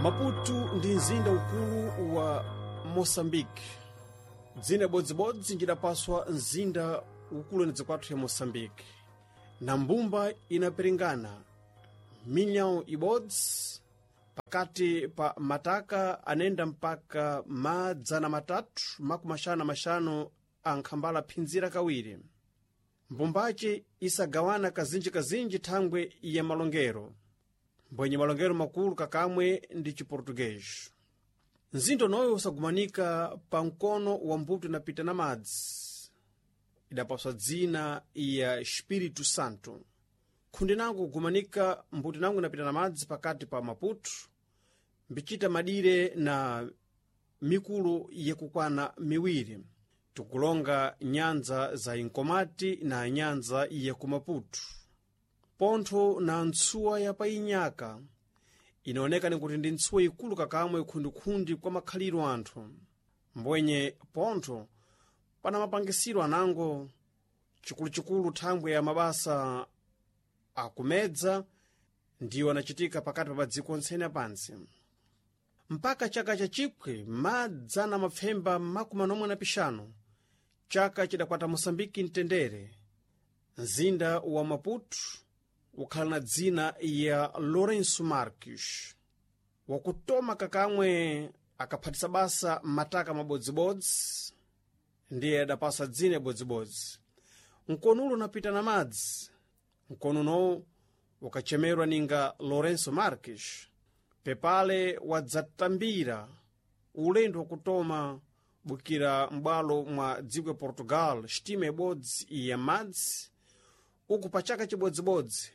Maputo ndi mzinda ukulu wa Moçambique. Dzina bodzibodzi njidapaswa mzinda ukulu ni kwathu ya Moçambique. Na mbumba inaperingana milhão ibodzi pakati pa mataka anenda mpaka madzana matatu makumi axanu na maxanu ankhambala phinzira kawiri. Mbumbace isagawana kazinji-kazinji thangwe ya malongero, mbwenye malongero makulu kakamwe ndi chiportuguês. Mzinda unoyo usagumanika pa mkono wa mbuto inapita na madzi, idapaswa dzina ya Espírito Santo. Khundi nango kugumanika mbuto nango inapita na madzi pakati pa Maputo, mbicita madire na mikulu yakukwana miwiri, tikulonga nyanza za Inkomati na nyanza ya ku Maputo. Pontho na ntsuwa ya painyaka inaoneka nikuti ndi ntsuwa ikulu kakamwe khundikhundi kwa makhaliro anthu. Mbwenye pontho pana mapangisiro anango chikuluchikulu thangwe ya mabasa akumedza ndiwo anachitika pakati pa madziko ontsene apansi. Mpaka chaka cha chipwe madzana mapfemba makumi anomwe na pixanu, chaka chidakwata Moçambique mtendere, mzinda wa Maputo ukhala na dzina ya Lourenço Marques, wakutoma kakamwe akaphatisa basa mataka mabodzibodzi, ndiye adapasa dzina ibodzibodzi. Mkono ulo unapita na madzi, mkono unowu ukachemerwa ninga Lourenço Marques, pepale wadzatambira ulendo wakutoma bukira m'bwalo mwa dziko ya Portugal xitima ibodzi ya madzi, uku pa chaka chibodzibodzi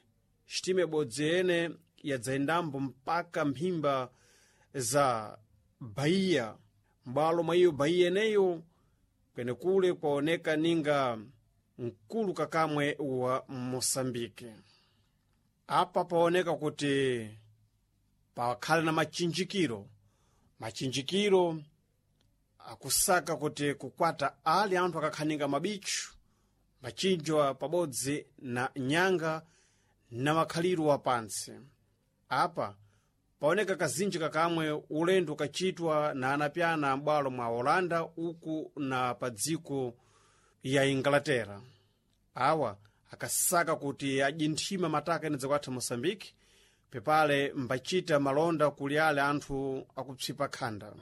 xitima ibodzi yene yadzayendambo mpaka mphimba za Bahia. M'bwalo mwa iyo Bahia eneyo kwenekule kwaoneka ninga mkulu kakamwe wa Moçambique. Apa paoneka kuti pakhale na machinjikiro, machinjikiro akusaka kuti kukwata ali anthu akakhaninga mabichu, machinjwa pabodzi na nyanga na makhaliro apansi. Apa paoneka kazinji kakamwe ulendo ukachitwa na anapyana m'bwalo mwa Holanda uku na pa dziko ya Inglaterra. Awa akasaka kuti ajinthima mataka ene dzakwathu Moçambique, pepale mbachita malonda kuli ale anthu akupsipa khanda.